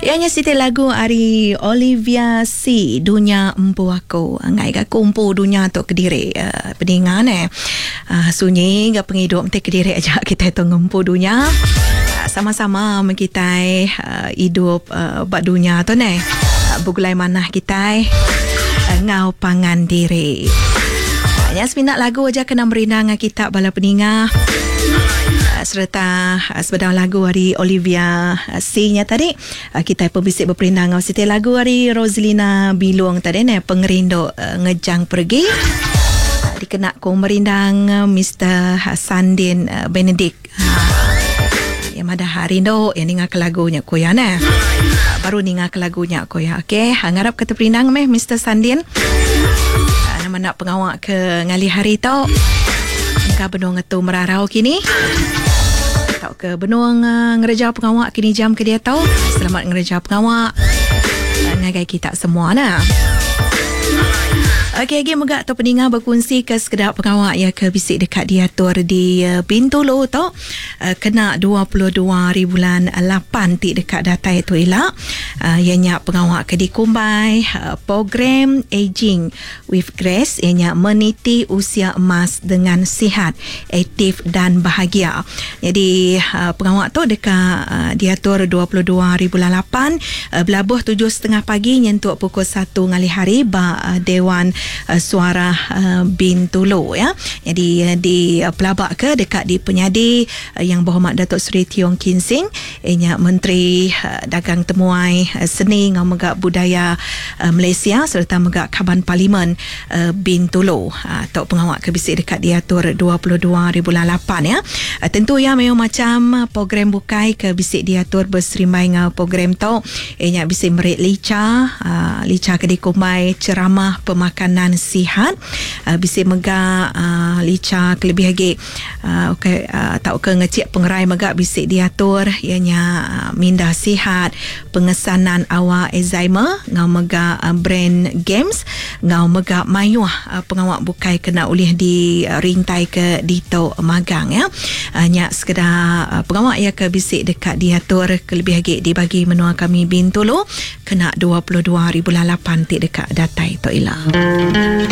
Iya nya siti lagu ari Olivia C Dunya Empu Aku. Enggai ga aku empu dunya tu kediri peninga neh. Sunyi ga pengidup enti kediri aja kitai tu ngempu dunya. Sama-sama meh kitai idup ba dunya tu neh. Begulai manah kitai enggau pangan diri. Nya semina lagu aja kena merindang kita bala peninga sereta sebedau lagu ari Olivia C nya tadi kitai pun bisi beperindang enggau siti lagu ari Roselina Bilung tadi neh Pengerindu Ngejang Pergi dikena ku merindang Mister Sandin Benedict. Iya madah rindu iya ninga ke lagu nya ku iya neh. Baru ninga ke lagu nya ku iya. Okey, ngarap ke teperindang meh Mister Sandin. Nama enda pengawa ke ngalih hari tu. Engka benung ngetu merarau kini. Tauka benung ngereja pengawa kini jam ke diatu. Selamat ngereja pengawa ngagai kita semua nah. Okey agi mega tu peninga bekunsi ke sekeda pengawa iya ke bisi deka diatur di Bintulu tu kena 22 hari bulan lapan ti deka datai tu ila iya nya pengawa ke dikumbai Program Aging with Grace iya nya meniti usia emas dengan sihat, aktif dan bahagia. Nyadi pengawa tu deka diatur 22 hari bulan lapan belabuh tujuh setengah pagi nyentuk pukul satu ngalih hari ba Dewan Suarah Bintulu ya. Nyadi dipelaba ke deka dipenyadi Yang Berhormat Datuk Seri Tiong Kin Sing iya nya Menteri Dagang Temuai, Seni enggau mega Budaya Malaysia sereta mega Kaban Parlimen Bintulu. Tu pengawa ke bisi deka diatur 22 hari bulan lapan ya. Tentu iya mayuh macham program bukai ke bisi diatur beserimbai enggau program tu iya nya bisi meri licha, licha ke dikumbai Ceramah Pemakanan Sihat, bisi mega licha ke lebih agi ukai tauka ngechik pengerai mega bisi diatur iya nya Minda Sihat, Pengesanan Awal Alzheimer enggau mega Brain Games enggau mega mayuh pengawa bukai kena ulih dirintaika ditu magang ya. Nya sekeda pengawa iya ke bisi deka diatur kelebih agi di bagi menua kami Bintulu kena 22 hari bulan lapan ti deka datai tu ila.